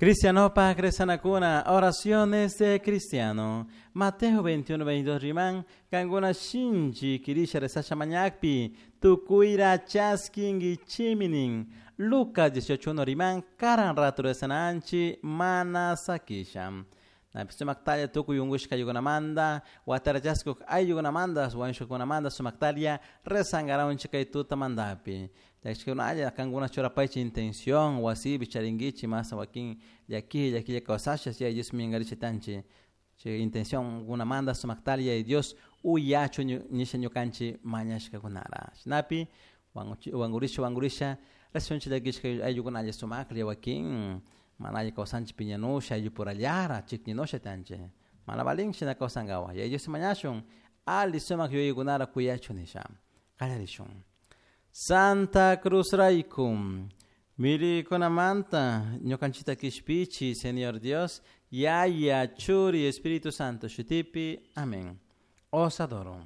Cristianopak rezanakuna, oraciones de cristiano. Mateo 21, 22 riman, kankuna shinchi kirisha rezasha mañakpi, tukuira chaskinguichimi nin. Lucas 18, 1 riman, karan rato rezananchi, mana sakisha. Napi sumaktalla tukuy unkushka ayllukunamanta, watarachaskuq ayllukunamanta, wañushkakunamanta sumaktalla rezankaranchik kay tutamantapi. Llakishkakunalla kankuna churapaychik intención, wasipi charinkichik masa wakin llaki llakilla kawsasha Yaya Dios minkarichitanchik. Chay intención kunamanta sumaktalla Yaya Dios uyachu nisha ñukanchik mañashkakunara. Shinapi wankurisha wankurisha rezashunchik llakishka ayllukunalla sumaklla wakin mana alli kawsanchik piñanusha ayllupurallara chikninusha tanchik. Mana valin shina kawsankawa. Yaya Dios mañashun alli sumak yuyaykunara kuyachun nisha. Qallarishun. Santa Cruz rayku mirikunamanta ñukanchikta kishpichi Señor Dios, Yaya, Churi, Espíritu Santo shutipi. Amén. Os adoro.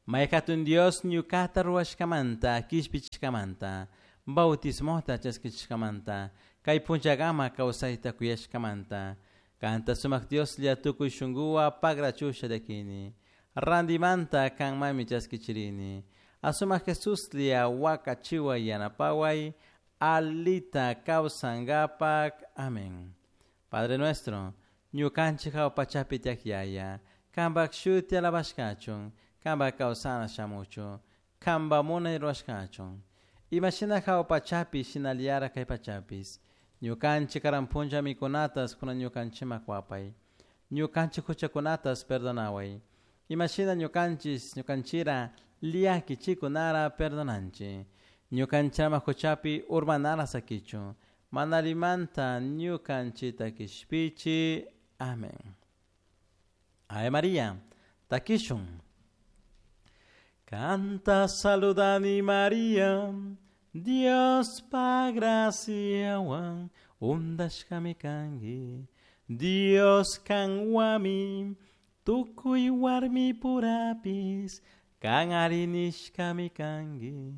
May hatun Dios ñukata ruwashkamanta, kishpichishkamanta, bautismota chaskichishkamanta, kay punllakama kawsayta kuyashkamanta, kanta sumak Dioslla tukuy shunkuwan pagrachusha llakini, randimanta kanmanmi chaskichirini, asumak Jesuslla wakachiway yanapaway, alita kawsankapak. Amén. Padre nuestro, ñukanchik hawa pachapi tiyak Yaya, kanpak shuti alabashkachun, kanpak kawsana shamuchun, kanpak munay rurashkachun. Imashina hawa pachapi shinallara kay pachapis. Ñukanchik karan punlla mikunatas kunan ñukanchikman kuwapay. Ñukanchik huchakunatas perdonaway. Imashina ñukanchis ñukanchira llakichikunara perdonanchik. Ñukanchama huchapi urmanara sakichun. Mana allimanta ñukanchita kishpichi. Amén. Ave María, takishun. Kanta saludani María, Diospaj graciahuan undashkami kanki. Dios kanhuanmi, tucui huarmipurapish, can ari nishkami kanki.